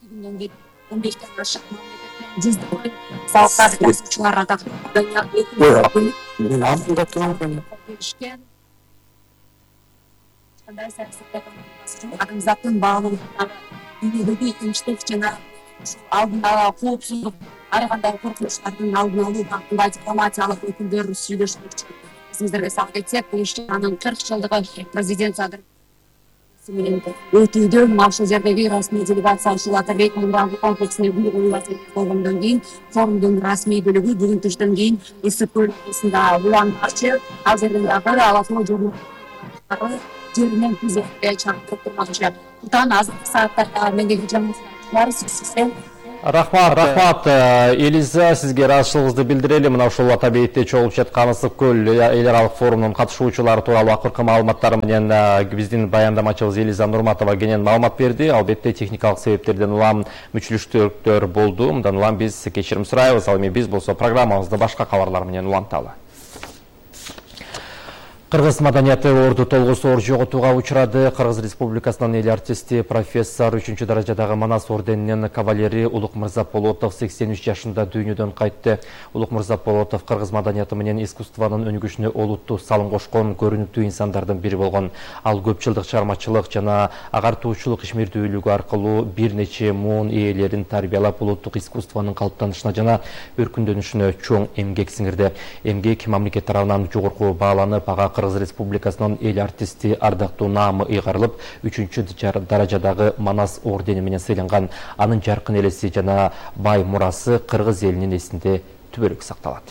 күндөн бери 15ден ашык мамлекеттен жүздөгөн салттар жазуучулар атактуу Мен алдында турган беришкен. Кандай адамзаттын баалуулугундагы дүйнөдөгү тынчтык жана алдын ала коопсуздук, ар кандай коркунучтардын алдын алуу багытында дипломатиялык өкүлдөр сүйлөшмөкчү. Эсиңиздерге салып кетсек, бул ишчананын 40 жылдыгы президент Садыр менен өтүүдө мына ушул жердеги расмий делегация ушул Атабек мурдагы комплексине болгондон кийин форумдун расмий бөлүгү бүгүн түштөн кийин ысык көлүнүндө уланмакчы. Ал жерден дагы Алатоо жолу жеринен күзөткө чакырып турмакчы. Кутан азыркы сааттарда мендеги жаңылыктар сизден. Рахмат, Элиза, сизге ыраазычылыгыбызды билдирели. Мына ушул Атабекте чогулуп жаткан ысык көл эл аралык форумунун катышуучулары тууралуу акыркы маалыматтар менен биздин баяндамачыбыз Элиза Нурматова кенен маалымат берди. Албетте техникалык себептерден улам мүчүлүштүктөр болду. Мындан улам биз кечирим сурайбыз. Ал эми биз болсо программабызды башка кабарлар менен уланталы. Кыргыз маданияты орду толгусу жоготууга учурады. Кыргыз Республикасынын эл артисти профессор 3-даражадагы Манас орденинин кавалери Улук Мырзаполотов 83 жашында дүйнөдөн кайтты. Улук Мырзаполотов кыргыз маданияты менен искусствонун өнүгүшүнө олуттуу салым кошкон көрүнүктүү инсандардын бири болгон. Ал көп жылдык чыгармачылык жана агартуучулук ишмердүүлүгү аркылуу бир нече муун ээлерин тарбиялап, улуттук искусствонун калыптанышына жана өркүндөнүшүнө чоң эмгек сиңирди. Эмгек мамлекет тарабынан жогорку бааланып, ага Кыргыз Республикасынын эл артисти ардактуу наамы ыйгарылып, 3-даражадагы Манас ордени менен сыйланган. Анын жаркын элеси жана бай мурасы кыргыз элинин эсинде түбөлүк сакталат.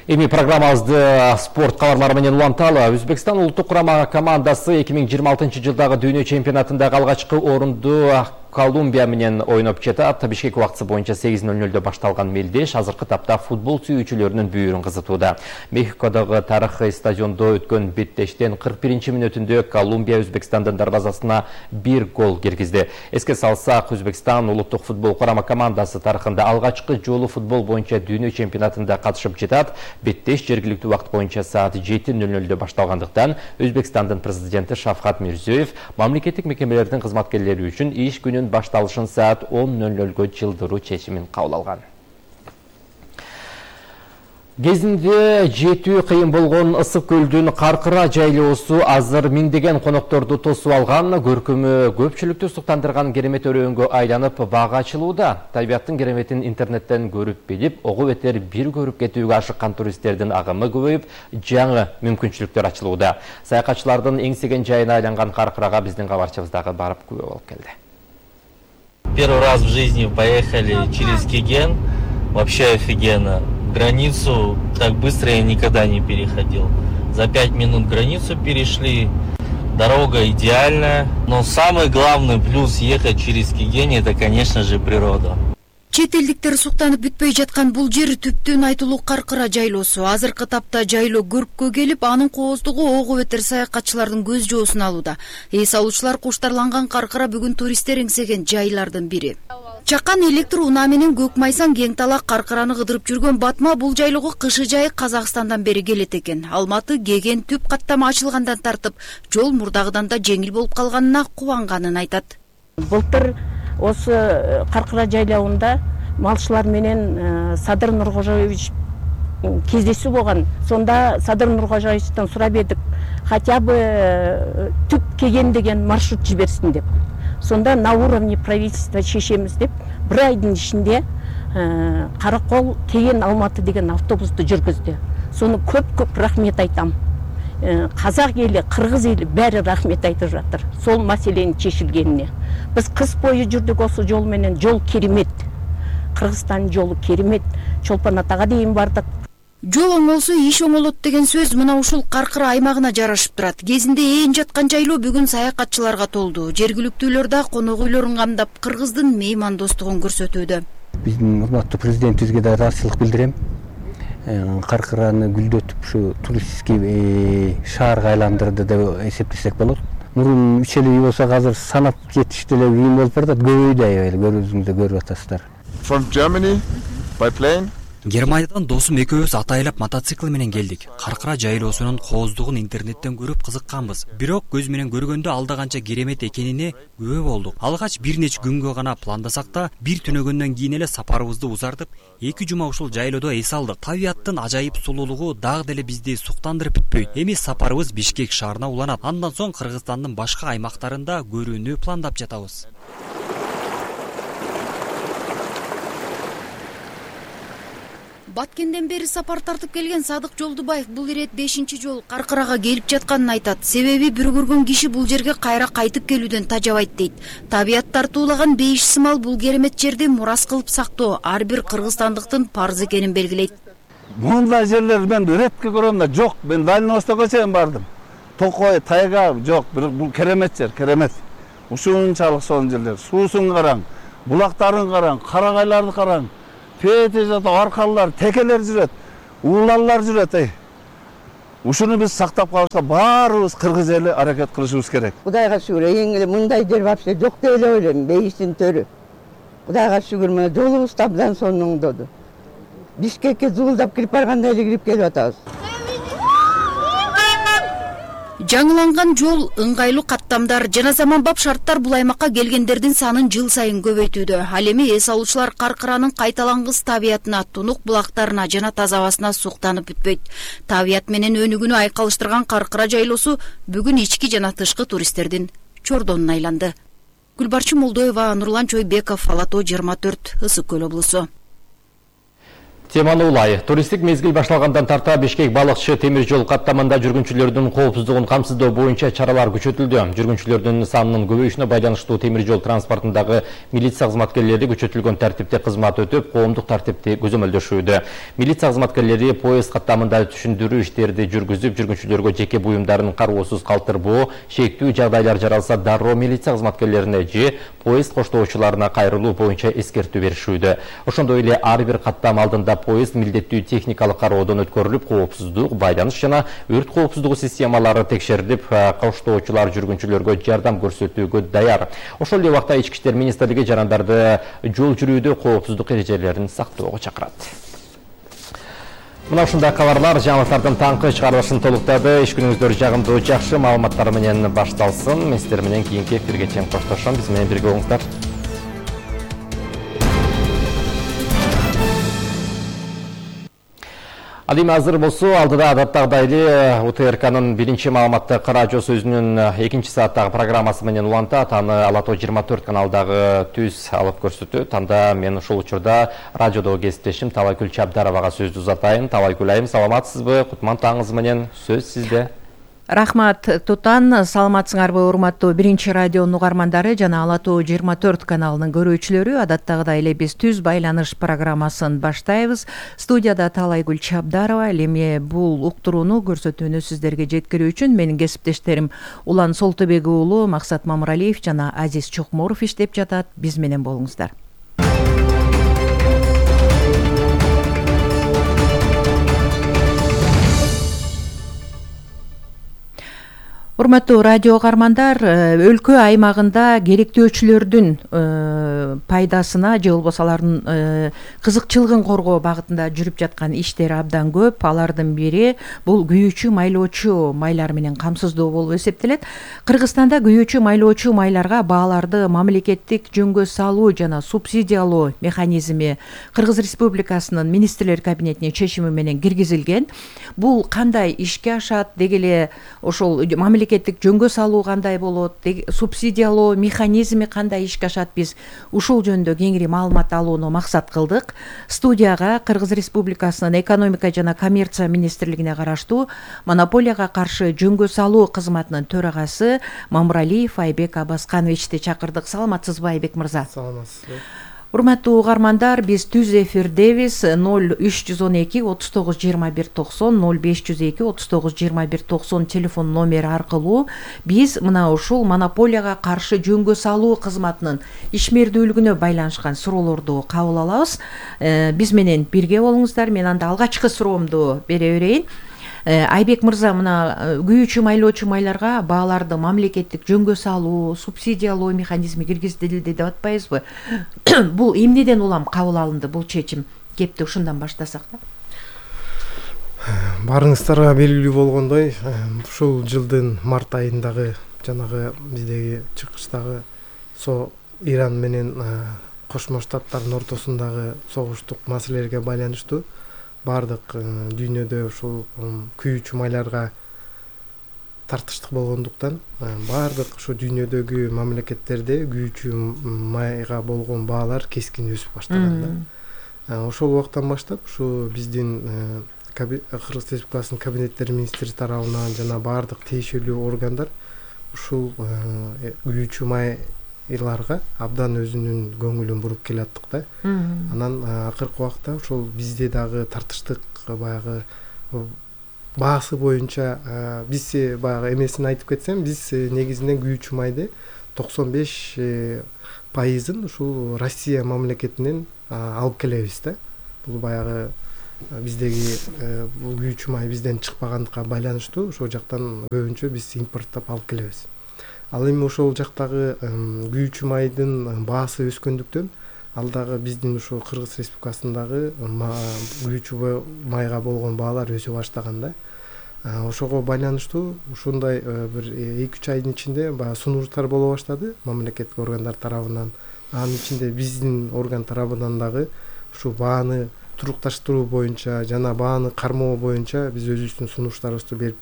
Эми программабызды спорт кабарлары менен уланталы. Өзбекстан улуттук курама командасы 2026 жылдагы дүйнө чемпионатындагы алгачкы орунду Колумбия менен ойноп жатат. Бишкек убактысы боюнча 8:00-дө башталган мелдеш азыркы тапта футбол сүйүүчүлөрүнүн бүйүрүн кызытууда. Мехикодогу тарыхый стадиондо өткөн беттештен 41-мүнөтүндө Колумбия Өзбекстандын дарбазасына 1 гол киргизди. Эске салсак, Өзбекстан улуттук футбол курама командасы тарыхында алгачкы жолу футбол боюнча дүйнө чемпионатында катышып жатат. Беттеш жергиликтүү убакыт боюнча саат 7:00-дө башталгандыктан Өзбекстандын президенти Шавкат Мирзиёев мамлекеттик мекемелердин кызматкерлери үчүн иш күнү башталышын саат 10:00-гө жылдыруу чечимин кабыл алган. Кезинде жетүү кыйын болгон ысык көлдүн Каркыра жайлоосу азыр миңдеген конокторду тосуп алган, көркөмү көпчүлүктү суктандырган керемет өрөөнгө айланып бага ачылууда. Табиаттын кереметин интернеттен көрүп билип, ого бетер бир көрүп кетүүгө ашыккан туристтердин агымы көбөйүп, жаңы мүмкүнчүлүктөр ачылууда. Саякатчылардын эңсеген жайына айланган Каркырага биздин кабарчыбыз дагы барып күбө болуп келди. Первый раз в жизни поехали через Кеген, вообще офигенно. Границу так быстро я никогда не переходил. За 5 минут границу перешли, дорога идеальная. Но самый главный плюс ехать через Кеген — это, конечно же, природа. Чет элдиктер суктанып бүтпөй жаткан бул жер түптөн айтылуу Каркыра жайлоосу. Азыркы тапта жайлоо көрккө келип, анын кооздугу ого бетер саякатчылардын көз жоосун алууда. Эс алуучулар куштарланган Каркыра бүгүн туристтер эңсеген жайлардын бири. Чакан электр унаа менен көк майсан кең талак Каркыраны кыдырып жүргөн Батма бул жайлоого кышы жайы Казакстандан бери келет экен. Алматы Кеген түп каттама ачылгандан тартып, жол мурдагыдан да жеңил болуп калганына кубанганын айтат. Былтыр осы Каркыра жайлауында малчылар менен Садыр Нуркожоевич кездесүү болгон. Сонда Садыр Нуркожоевичтен сурап едик, хотя бы түп Кеген деген маршрут жиберсин деп. Сонда на уровне правительства чечемиз деп, bir айдын ичинде Каракол Кеген Алматы деген автобусту жүргүздү. Сону көп рахмет айтам. Казак эли, кыргыз эли баары рахмет айтып жатыр. Сол маселенин чечилгенине. Биз кыз бою жүрдүк осу жол менен, жол керемет. Кыргызстандын жолу керемет. Чолпон Атага дейин бардык. Жол оңолсо иш оңолот деген сөз мына ушул Каркыра аймагына жарашып турат. Кезинде ээн жаткан жайлоо бүгүн саякатчыларга толду. Жергиликтүүлөр да конок үйлөрүн камдап, кыргыздын меймандостугун көрсөтүүдө. Биздин урматтуу президентибизге да ыраазычылык билдирем. Каркыраны гүлдөтүп ушу туристский шаарга айландырды деп эсептесек болот. Мурун 3 үй болсо азыр санап жетиштүү эле кийин болуп барат, көбөйдү аябай, көрүүбүздө көрүп атасыздар. From Germany by plane Германиядан досум экөөбүз атайлап мотоцикл менен келдик. Каркыра жайлоосунун кооздугун интернеттен көрүп кызыкканбыз. Бирок көз менен көргөндө алда канча керемет экенине күбө болдук. Алгач бир нече күнгө гана пландасак да, бир түнөгөндөн кийин эле сапарыбызды узартып, 2 жума ушул жайлоодо эс алдык. Табияттын ажайып сулуулугу дагы деле бизди суктандырып бүтпөйт. Эми сапарыбыз Бишкек шаарына уланат. Андан соң Кыргызстандын башка аймактарында көрүүнү пландап жатабыз. Баткенден бери сапар тартып келген Садык Жолдубаев бул ирет 5-чи жолу Каркырага келип жатканын айтат. Себеби бир көргөн киши бул жерге кайра кайтып келүүдөн тажабайт дейт. Табият тартуулаган бейиш сымал бул керемет жерди мурас кылып сактоо ар бир кыргызстандыктын парзы экенин белгилейт. Мындай жерлер мен редко көрөм да, жок. Мен Дальний Востокко чейин бардым. Токой, Тайга жок, бирок бул керемет жер, керемет. Ушунчалык сонун жерлер. Суусун караң, булактарын караң, карагайларды караң. Пете жата аркалар, текелер жүрөт, уулалар жүрөт. Ушуну биз сактап калышка баарыбыз кыргыз эли аракет кылышыбыз керек. Кудайга шүгүр, эң эле мындай жер вообще жок деп эле ойлойм, бейиштин төрү. Кудайга шүгүр, мына жолубуз абдан сонун оңдоду. Бишкекке зуулдап кирип баргандай эле кирип келип атабыз. Жаңыланган жол, ыңгайлуу каттамдар жана заманбап шарттар бул аймакка келгендердин санын жыл сайын көбөйтүүдө. Ал эми эс алуучулар Каркыранын кайталангыс табиятына, тунук булактарына жана таза абасына суктанып бүтпөйт. Табият менен өнүгүүнү айкалыштырган Каркыра жайлоосу бүгүн ички жана тышкы туристтердин чордонуна айланды. Гүлбарчы Молдоева, Нурлан Чойбеков, Ала Тоо 24, Ысык Көл облусу. Теманы улай. Туристик мезгил башталгандан тарта Бишкек балыкчы темир жол каттамында жүргүнчүлөрдүн коопсуздугун камсыздоо боюнча чаралар күчөтүлдү. Жүргүнчүлөрдүн санынын көбөйүшүнө байланыштуу темир жол транспортундагы милиция кызматкерлери күчөтүлгөн тартипте кызмат өтүп, коомдук тартипти көзөмөлдөшүүдө. Милиция кызматкерлери поезд каттамында түшүндүрүү иштерди жүргүзүп, жүргүнчүлөргө жеке буюмдарын кароосуз калтырбоо, шектүү жагдайлар жаралса дароо милиция кызматкерлерине же поезд коштоочуларына кайрылуу боюнча эскертүү беришүүдө. Ошондой эле ар бир каттам алдында поезд милдеттүү техникалык кароодон өткөрүлүп, коопсуздук, байланыш жана өрт коопсуздугу системалары текшерилип, коштоочулар жүргүнчүлөргө жардам көрсөтүүгө даяр. Ошол эле убакта Ички иштер министрлиги жарандарды жол жүрүүдө коопсуздук эрежелерин сактоого чакырат. Мына ушундай кабарлар жаңылыктардын таңкы чыгарылышын толуктады. Иш күнүңүздөр жагымдуу, жакшы маалыматтар менен башталсын. Мен сиздер менен кийинки эфирге чейин коштошом. Биз менен бирге болуңуздар. Ал эми азыр болсо алдыда адаттагыдай эле УТРКнын биринчи маалыматтык радиосу өзүнүн 2 сааттагы программасы менен улантат. Аны Ала Тоо 24 каналдагы түз алып көрсөтөт. Анда мен ушул учурда радиодогу кесиптешим Талайгүл Чабдаровага сөздү узатайын. Талайгүл айым, саламатсызбы? Кутман таңыңыз менен, сөз сизде. Рахмат Тутан, саламатсыңарбы урматтуу биринчи радионун угармандары жана Ала Тоо 24 каналынын көрүүчүлөрү. Адаттагыдай эле биз түз байланыш программасын баштайбыз. Студияда Талайгүл Чабдарова. Эми бул уктурууну, көрсөтүүнү сиздерге жеткирүү үчүн менин кесиптештерим Улан Солтубек уулу, Максат Мамыралиев жана Азиз Чокморов иштеп жатат. Биз менен болуңуздар. Урматтуу радио угармандар, өлкө аймагында керектөөчүлөрдүн пайдасына же болбосо алардын кызыкчылыгын коргоо багытында жүрүп жаткан иштер абдан көп. Алардын бири бул күйүүчү майлоочу майлар менен камсыздоо болуп эсептелет. Кыргызстанда күйүүчү майлоочу майларга бааларды мамлекеттик жөнгө салуу жана субсидиялоо механизми Кыргыз Республикасынын министрлер кабинетинин чечими менен киргизилген. Бул кандай ишке ашат, деги эле ошол мамлекеттик жөнгө салуу кандай болот, субсидиялоо механизми кандай ишке ашат, биз ушул жөнүндө кеңири маалымат алууну максат кылдык. Студияга Кыргыз Республикасынын экономика жана коммерция министрлигине караштуу монополияга каршы жөнгө салуу кызматынын төрагасы Мамыралиев Айбек Абаскановичти чакырдык. Саламатсызбы, Айбек мырза? Саламатсызбы. Урматтуу угармандар, биз түз эфирдебиз. 0312 39 21 90 0502 39 21 90 телефон номери аркылуу биз мына ушул монополияга каршы жөнгө салуу кызматынын ишмердүүлүгүнө байланышкан суроолорду кабыл алабыз. Биз менен бирге болуңуздар. Мен анда алгачкы суроомду бере берейин. Айбек мырза, мына күйүүчү майлоочу майларга бааларды мамлекеттик жөнгө салуу, субсидиялоо механизми киргизилди деп атпайбызбы? Бул эмнеден улам кабыл алынды бул чечим? кепти ушундан баштасак да. Баарыңыздарга белгилүү болгондой, ушул жылдын март айындагы жанагы биздеги чыгыштагы Иран менен Кошмо Штаттардын ортосундагы согуштук маселелерге байланыштуу баардык дүйнөдө ушул күйүүчү майларга тартыштык болгондуктан баардык ушу дүйнөдөгү мамлекеттерде күйүүчү майга болгон баалар кескин өсүп баштаган да. Ошол убактан баштап ушу биздин Кыргыз Республикасынын кабинеттер министри тарабынан жана баардык тиешелүү органдар ушул күйүүчү майларга абдан өзүнүн көңүлүн буруп келаттык да. Анан акыркы убакта ушул бизде дагы тартыштык баягы баасы боюнча биз баягы эмесин айтып кетсем, биз негизинен күйүүчү майды 95%ын ушул Россия мамлекетинен алып келебиз да. Бул баягы биздеги бул күйүүчү май бизден чыкпагандыкка байланыштуу ошол жактан көбүнчө биз импорттоп алып келебиз. Ал эми ошол жактагы күйүүчү майдын баасы өскөндүктөн ал дагы биздин ушул Кыргыз Республикасындагы күйүүчү майга болгон баалар өсө баштаган да. Ошого байланыштуу ушундай бир 2-3 айдын ичинде баягы сунуштар боло баштады мамлекеттик органдар тарабынан. Анын ичинде биздин орган тарабынан дагы ушу бааны турукташтыруу боюнча жана бааны кармоо боюнча биз өзүбүздүн сунуштарыбызды берип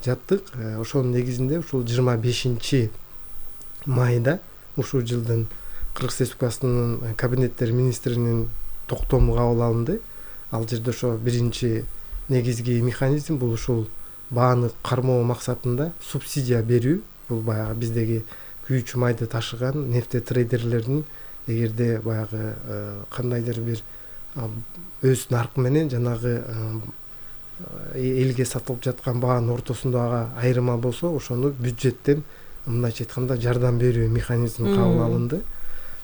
жаттык. Ошонун негизинде ушул 25 майда ушул жылдын Кыргыз Республикасынын кабинеттер министринин токтому кабыл алынды. Ал жерде ошо биринчи негизги механизм бул ушул бааны кармоо максатында субсидия берүү. Бул баягы биздеги күйүүчү майды ташыган нефтетрейдерлердин эгерде баягы кандайдыр бир өз наркы менен жанагы элге сатылып жаткан баанын ортосундагы айырма болсо, ошону бюджеттен мындайча айтканда жардам берүү механизми кабыл алынды.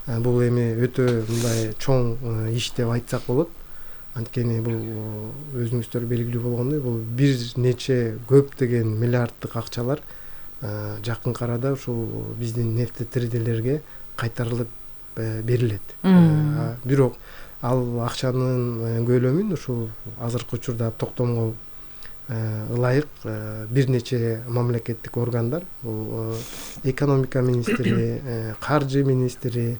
Бул эми өтө мындай чоң иш деп айтсак болот. Анткени бул өзүңүздөр белгилүү болгондой, бул бир нече көптөгөн миллиарддык акчалар жакынкы арада ушул биздин нефтетрейдерлерге кайтарылып берилет. Бирок ал акчанын көлөмүн ушул азыркы учурда токтомго ылайык бир нече мамлекеттик органдар, бул экономика министри, каржы министри,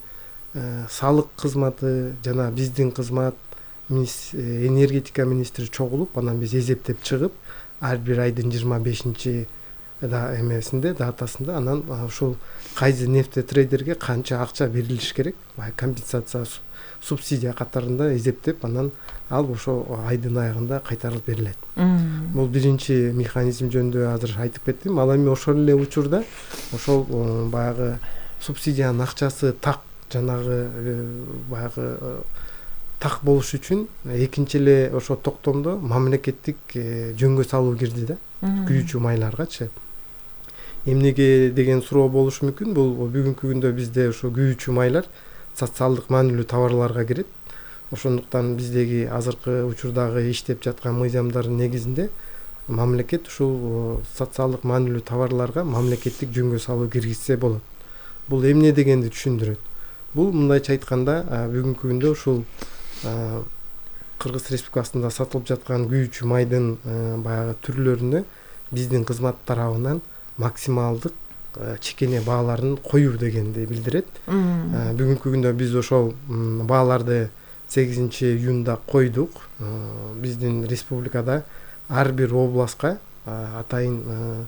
салык кызматы жана биздин кызмат, энергетика министри чогулуп, анан биз эсептеп чыгып, ар бир айдын 25 эмесинде датасында анан ушул кайсы нефтетрейдерге канча акча берилиш керек, компенсация субсидия катарында эсептеп, анан ал ошо айдын аягында кайтарылып берилет. Бул биринчи механизм жөнүндө азыр айтып кеттим. Ал эми ошол эле учурда ошол баягы субсидиянын акчасы так жанагы баягы так болуш үчүн экинчи эле ошо токтомдо мамлекеттик жөнгө салуу кирди да, күйүүчү майларгачы. Эмнеге деген суроо болушу мүмкүн. Бул бүгүнкү күндө бизде ошо күйүүчү майлар социалдык маанилүү товарларга кирет. Ошондуктан биздеги азыркы учурдагы иштеп жаткан мыйзамдардын негизинде мамлекет ушул социалдык маанилүү товарларга мамлекеттик жөнгө салуу киргизсе болот. Бул эмне дегенди түшүндүрөт. Бул мындайча айтканда бүгүнкү күндө ушул Кыргыз Республикасында сатылып жаткан күйүүчү майдын баягы түрлөрүнө биздин кызмат тарабынан максималдык чекене бааларын коюу дегенди билдирет. Бүгүнкү күндө биз ошол бааларды 8 июнда койдук. Биздин республикада ар бир областка атайын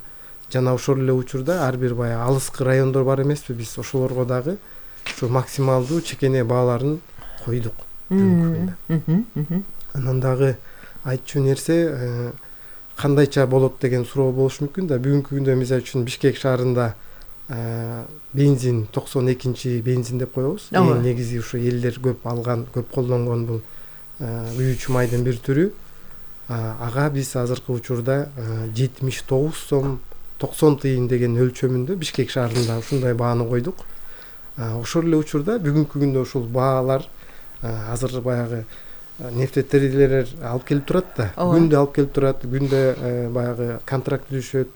жана ошол эле учурда ар бир баягы алыскы райондор бар эмеспи, биз ошолорго дагы ушу максималдуу чекене бааларын койдук бүгүнкү күндө. Анан дагы айтчу нерсе кандайча болот деген суроо болушу мүмкүн да. Бүгүнкү күндө мисалы үчүн Бишкек шаарында бензин 92 бензин деп коебуз. Эң негизи ушу элдер көп алган, көп колдонгон бул күйүүчү майдын бир түрү. Ага биз азыркы учурда 79 сом 90 тыйын деген өлчөмүндө Бишкек шаарында ушундай бааны койдук. Ошол эле учурда бүгүнкү күндө ушул баалар азыр баягы нефтетрейдерлер алып келип турат да, күндө алып келип турат, күндө баягы контракт түзүшөт,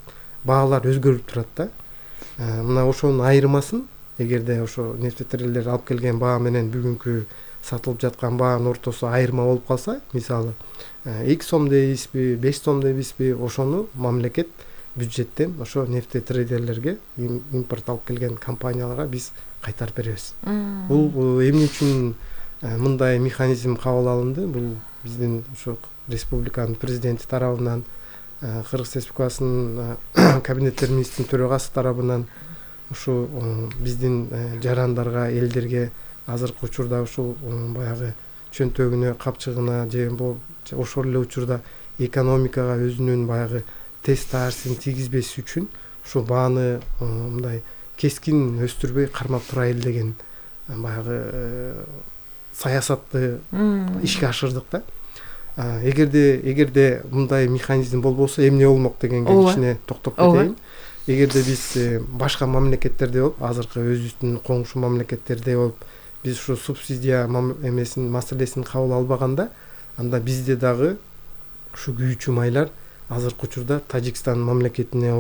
баалар өзгөрүп турат да. Мына ошонун айырмасын эгерде ошо нефтетрейдерлер алып келген баа менен бүгүнкү сатылып жаткан баанын ортосу айырма болуп калса, мисалы 2 сом дейбизби, 5 сом дейбизби, ошону мамлекет бюджеттен ошо нефтетрейдерлерге, импорт алып келген компанияларга биз кайтарып беребиз. Бул эмне үчүн мындай механизм кабыл алынды? Бул биздин ошо республиканын президенти тарабынан, Кыргыз Республикасынын кабинеттер министринин төрагасы тарабынан ушу биздин жарандарга, элдерге азыркы учурда ушул баягы чөнтөгүнө, капчыгына же ошол эле учурда экономикага өзүнүн баягы тез таасирин тийгизбес үчүн ушу бааны мындай кескин өстүрбөй кармап турайлы деген баягы саясатты ишке ашырдык да. Эгерде мындай механизм болбосо эмне болмок дегенге кичине токтоп кетейин. Эгерде биз башка мамлекеттерде болуп, азыркы өзүбүздүн коңшу мамлекеттерде болуп, биз ушу субсидия маселесин кабыл албаганда, анда бизде дагы ушу күйүүчү майлар азыркы учурда Тажикстан мамлекетине